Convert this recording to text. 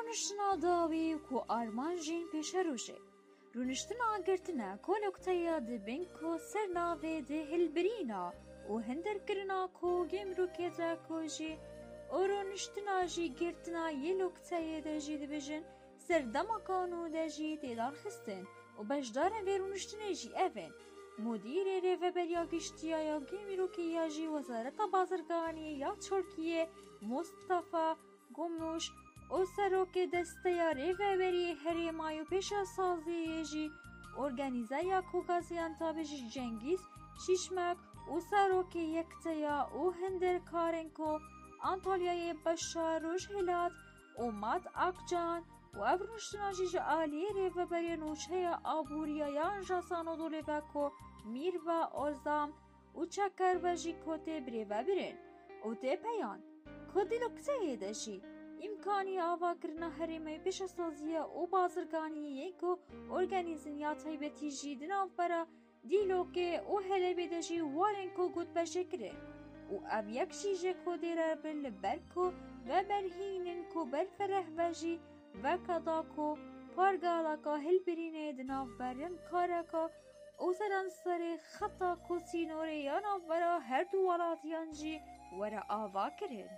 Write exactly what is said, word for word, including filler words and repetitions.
Rûniştina dawî ku armanc jî pêşerojê. Rûniştina girtine ku nokteya dibin ku ser navê di hilbirîna û hindirkirina ku gêmrûkê de ku jî û rûniştina jî girtina yê nokteyê de jî dibêjin serdema kanûn de jî tê darxistin û beşdarên vê rûniştinê jî ev in: Mudîrê Rêveberiya Giştiya ya Gêmrûkê ya jî Wezareta Bazirganiyê ya Tirkiyê Mustafa Gumûş û serokê desteya rêveberiyê herêma û pêşesaziyê jî organîzeriya ku Gaziantepê jî Cengîz Şîşmek û serokê yekteya û hindirkarên ku Antalyayê Beşar Rojhilat û Mat Akcan û ev rûniştina jî ji aliyê rêveberiya nûçeya aboriya ya Ajans Anadolê ve ku Mîrva Ozan û Çeker ve jî ku tê birêvebirin û tê peyan ku di nokteyê de jî îmkanî avakirina herêmê pêşesaziya û bazirganiyê yên ku organîzin ya taybetî jî di navbera Dîlokê û Helebê de jî warên ku gotbeşê kirin û ev yek jî ji ku dêre bin li ber ku veberhînin ku berfereh ve jî veke da ku pargaleka hilbirînê di navberin kareka û seranserê xeta ku sînorê ya navbera her du welatiyan jî were avakirin.